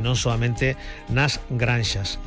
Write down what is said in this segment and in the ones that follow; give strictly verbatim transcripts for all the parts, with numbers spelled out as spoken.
non soamente nas granxas.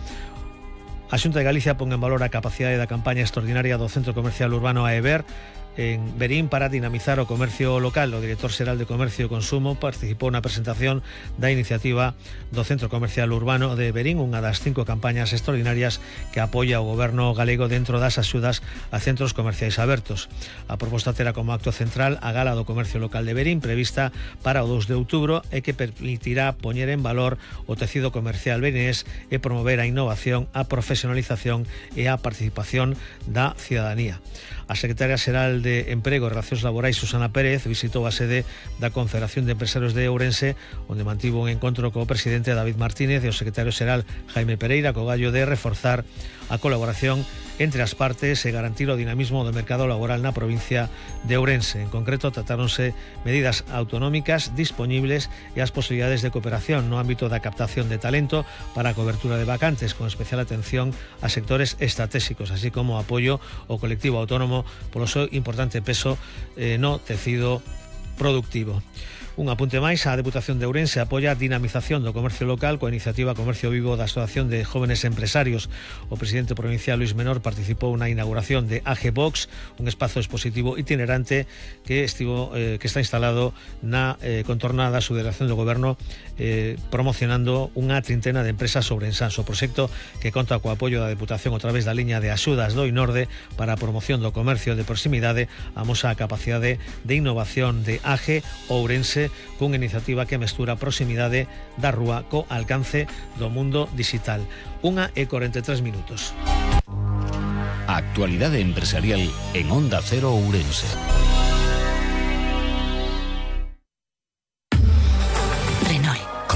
A Xunta de Galicia pon en valor a capacidade da campaña extraordinaria do Centro Comercial Urbano Aever en Verín para dinamizar o comercio local. O director xeral de Comercio e Consumo participou na presentación da iniciativa do Centro Comercial Urbano de Verín, unha das cinco campañas extraordinarias que apoia o goberno galego dentro das axudas a centros comerciais abertos. A proposta terá como acto central a Gala do Comercio Local de Verín, prevista para o dous de outubro, e que permitirá poñer en valor o tecido comercial verinés e promover a innovación, a profesionalización e a participación da cidadanía. A secretaria xeral de Emprego e Relacións Laborais, Susana Pérez, visitou a sede da Confederación de Empresarios de Ourense, onde mantivo un encontro co presidente David Martínez e o secretario xeral Jaime Pereira, co gallo de reforzar a colaboración entre as partes e garantir o dinamismo do mercado laboral na provincia de Ourense. En concreto, tratáronse medidas autonómicas disponibles e as posibilidades de cooperación no ámbito da captación de talento para a cobertura de vacantes, con especial atención a sectores estratégicos, así como apoio ao colectivo autónomo polo seu importante peso eh, no tecido productivo. Un apunte máis, a Deputación de Ourense apoia a dinamización do comercio local coa iniciativa Comercio Vivo da Asociación de Jóvenes Empresarios. O presidente provincial Luis Menor participou na inauguración de A G Box, un espazo expositivo itinerante que estivo eh, que está instalado na eh, contorna da Subdelegación do Goberno, eh, promocionando unha trintena de empresas ourensás. O proxecto, que conta co apoio da Deputación a través da liña de axudas do INORDE para a promoción do comercio de proximidade, amosa a capacidade de innovación de A G Ourense, cunha iniciativa que mestura a proximidade da rúa co alcance do mundo digital. Unha e corenta e tres minutos. A actualidade empresarial en Onda Cero Ourense.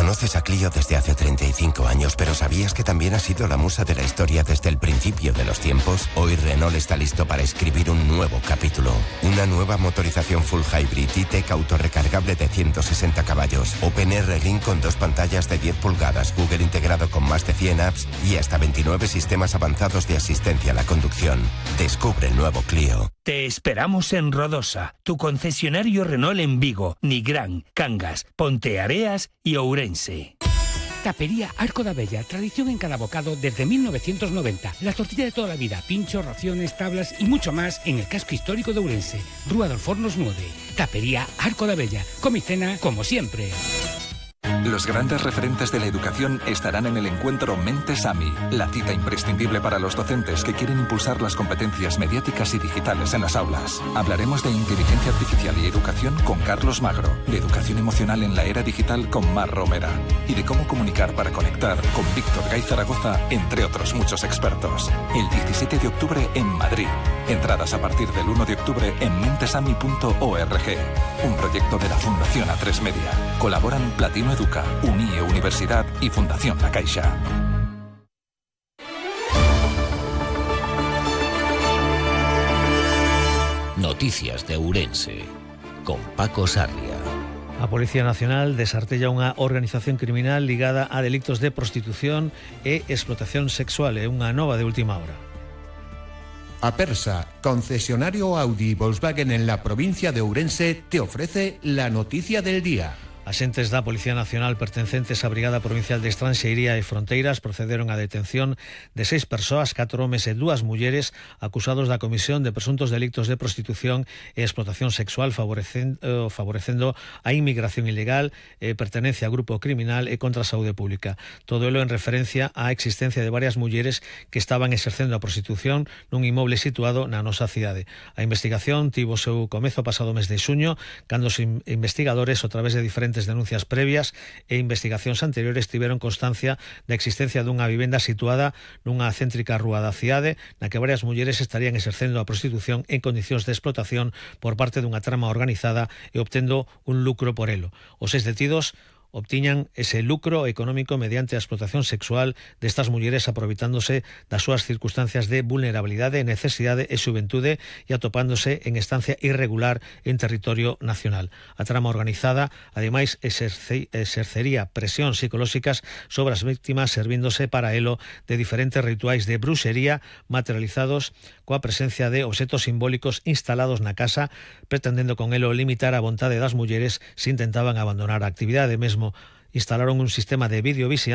Conoces a Clio desde hace treinta y cinco años, pero ¿sabías que también ha sido la musa de la historia desde el principio de los tiempos? Hoy Renault está listo para escribir un nuevo capítulo. Una nueva motorización full hybrid E-Tech autorrecargable de ciento sesenta caballos, OpenR Link con dos pantallas de diez pulgadas, Google integrado con más de cien apps y hasta veintinueve sistemas avanzados de asistencia a la conducción. Descubre el nuevo Clio. Te esperamos en Rodosa, tu concesionario Renault en Vigo, Nigrán, Cangas, Ponteareas y Ourense. Tapería Arco da Bella, tradición en cada bocado desde mil novecientos noventa. La tortilla de toda la vida, pinchos, raciones, tablas y mucho más en el casco histórico de Ourense. Rúa dos Fornos nueve. Tapería Arco da Bella, come y cena como siempre. Los grandes referentes de la educación estarán en el encuentro Mentes AMI, la cita imprescindible para los docentes que quieren impulsar las competencias mediáticas y digitales en las aulas. Hablaremos de inteligencia artificial y educación con Carlos Magro, de educación emocional en la era digital con Mar Romera y de cómo comunicar para conectar con Víctor Gay Zaragoza, entre otros muchos expertos. El diecisiete de octubre en Madrid. Entradas a partir del uno de octubre en mentesami punto org. Un proyecto de la Fundación A tres Media. Colaboran Platino Educa, UNIE Universidad y Fundación La Caixa. Noticias de Ourense con Paco Sarria. A Policía Nacional desartella unha organización criminal ligada a delitos de prostitución e explotación sexual. É unha nova de última hora. Apersa, concesionario Audi y Volkswagen en la provincia de Ourense, te ofrece la noticia del día. Axentes da Policía Nacional pertencentes á Brigada Provincial de Estranxeiría e Fronteiras procederon á detención de seis persoas, catro homes e dúas mulleres acusados da comisión de presuntos delictos de prostitución e explotación sexual favorecendo, favorecendo a inmigración ilegal, e pertenencia a grupo criminal e contra a saúde pública. Todo elo en referencia á existencia de varias mulleres que estaban exercendo a prostitución nun inmoble situado na nosa cidade. A investigación tivo seu comezo pasado mes de xuño, cando os investigadores, a través de diferentes denuncias previas e investigacións anteriores, tiveron constancia da existencia dunha vivenda situada nunha céntrica rúa da cidade na que varias mulleres estarían exercendo a prostitución en condicións de explotación por parte dunha trama organizada e obtendo un lucro por elo. Os seis detidos obtiñan ese lucro económico mediante a explotación sexual destas mulleres, aproveitándose das súas circunstancias de vulnerabilidade, necesidade e xuventude e atopándose en estancia irregular en territorio nacional. A trama organizada, ademais, exerce, exercería presións psicolóxicas sobre as víctimas, servíndose para elo de diferentes rituais de bruxería materializados coa presencia de obxetos simbólicos instalados na casa, pretendendo con elo limitar a vontade das mulleres se intentaban abandonar a actividade. Mesmo instalaron un sistema de videovixilancia